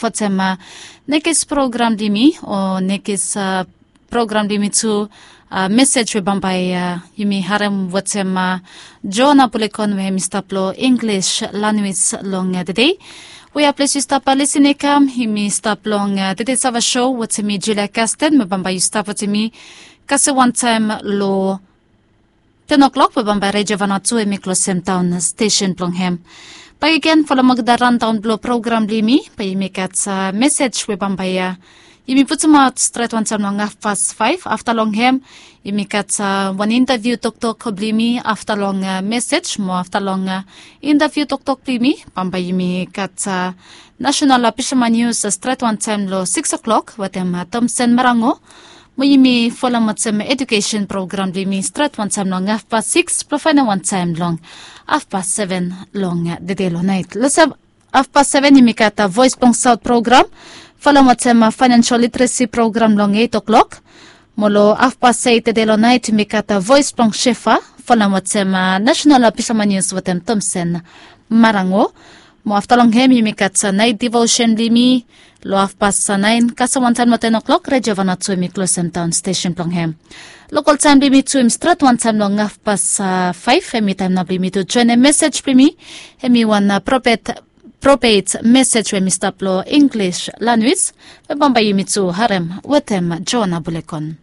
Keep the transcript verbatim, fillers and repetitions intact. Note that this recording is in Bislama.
wetem nekis program blong yumi o nekis program blong yumi tu, mesej we bambae yumi harem wetem Joana Bulekon we hemi stap long English lanwis long tede. Wea ples yu stap lisin i kam, yumi stap long tede sava show wetem mi Julia Kasten, we bambae yu stap wetem mi kasem wantaem long ten o'clock, we bambae Redio Vanuatu hemi klosem daon stesen blong hem. Bakegen folem olgeta randaon blong program blong yumi, bae yumi gat mesej we bambae yumi putumaot stret wantaem long hafpas faef. Afta long hem yumi gat wan intaviu toktok blong yumi. Afta long mesej mo afta long intaviu toktok blong yumi, bambae yumi gat nasenal pisama nius stret wantaem long sikis o'clock wetem Tomsen Marango. Mo yumi folem wetem edukesen program blong yumi stret wantaem long hafpas sikis blong faenem wantaem long hafpas seven long tede long naet. Long hafpas seven yumi gat Voes blong Saot program folem wetem faenensel literesi program long eit o'clock. Mo long hafpas eit tede long naet yumi gat Voes blong Sefa folem wetem nasenal pisama nius wetem Tomsen Marango. Mo afta long hem yumi gat naet divosen blong yumi long hafpas naen kasem wantaem long ten o'clock. Redio Vanuatu hemi klosem daon stesen blong hem. Lokol taem blong yumi tu hemi stret wantaem long hafpas faef. Hemi taem nao blong yumi tu joenem mesej blong yumi. Hemi wan propet propet mesej we hemi stap long English lanwis, we bambae yumi tu harem wetem Joana Bulekon.